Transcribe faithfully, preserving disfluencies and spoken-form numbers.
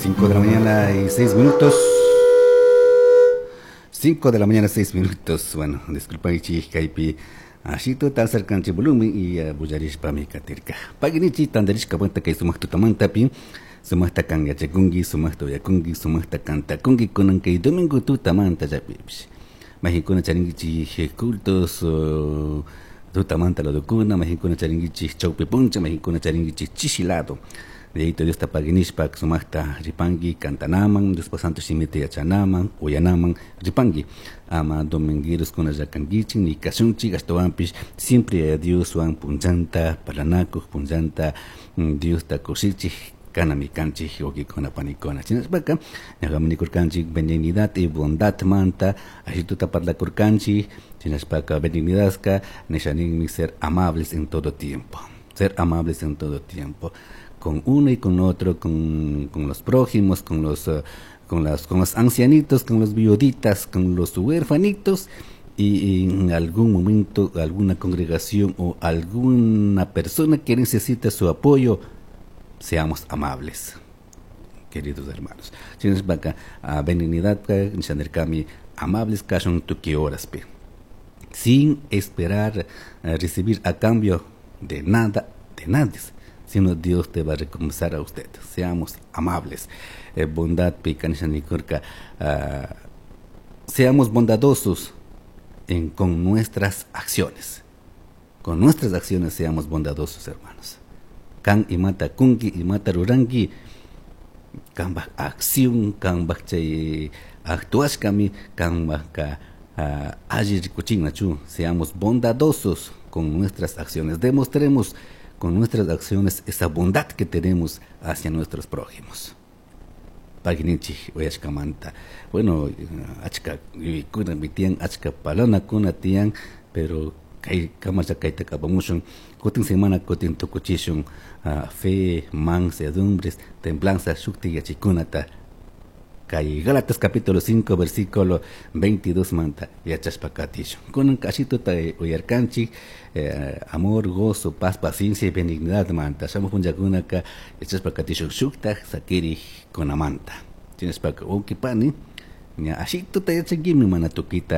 Cinco de la mañana y seis minutos. Cinco de la mañana seis minutos. Bueno, disculpaichi kaypi ashituta acercanchi volumen y uh, bullarishpami katirka. Paginichi tandarishka vuelta kay sumaq tutamantapi sumaqta kan yachakunki, sumaqta uyakunki, sumaqta kantakunki kunan kay domingo tutamanta llapipish. Majinkuna charinkichik cultos uh, tutamanta ladukuna, majinkuna charinkichik chawpi puncha, majinkuna charinkichik chishi lado. Yayito Diosta paginishpa sumaqta ripanki kantanaman, Diospa santo shimita yachanaman, uyanaman ripanki. Ama domingueros kuna llakankichik ni kashunchik ashtawanpish siempre Dioswan punllanta parlanakuq punllanta Diosta kushichik kanami kanchik wawqikuna panikuna. Shinashpaka ñuqami nikurkanchik benignidad y bondad manta ashituta parlakurkanchik shinashpaka benignidadka nishaninmi ser amables en todo tiempo, ser amables en todo tiempo con uno y con otro, con, con los prójimos, con los, uh, con las, con los ancianitos, con los viuditas, con los huérfanitos, y en algún momento alguna congregación o alguna persona que necesita su apoyo, seamos amables, queridos hermanos. Shinashpaka benignidad nishanirkami amables kashun tukuy horaspi, sin esperar uh, recibir a cambio de nada, de nadie, sino Dios te va a recompensar a usted. Seamos amables. Eh, bondad picanishanikurka, uh, seamos bondadosos en, con nuestras acciones. Con nuestras acciones seamos bondadosos, hermanos. Kan imata kunki, imata ruranki, kambaj acción, kambaj chay actuashkami, kambaj ka uh, alli rikuchinnachu. Seamos bondadosos con nuestras acciones. Demostremos con nuestras acciones esa bondad que tenemos hacia nuestros prójimos. Paginichi uyashkamanta. Bueno, achka yuyaykuna tiyan, achka parlanakuna tiyan, pero kay kamasha kayta kapamushun, kutin semana kutin tukuchishun uh, fe, mansedumbres, templanza, shukti yachikunata. Kay Gálatas capítulo cinco versículo veintidós manta yachashpa katishun. Kunan kashituta uyarkanchik, eh, amor, gozo, paz, paciencia y benignidad manta. Shamuq punllakunaka yachashpa katishun shuktaj sakiri kunamanta. Shinashpaka wawqi pani, ña ashituta yachankimi mana tukita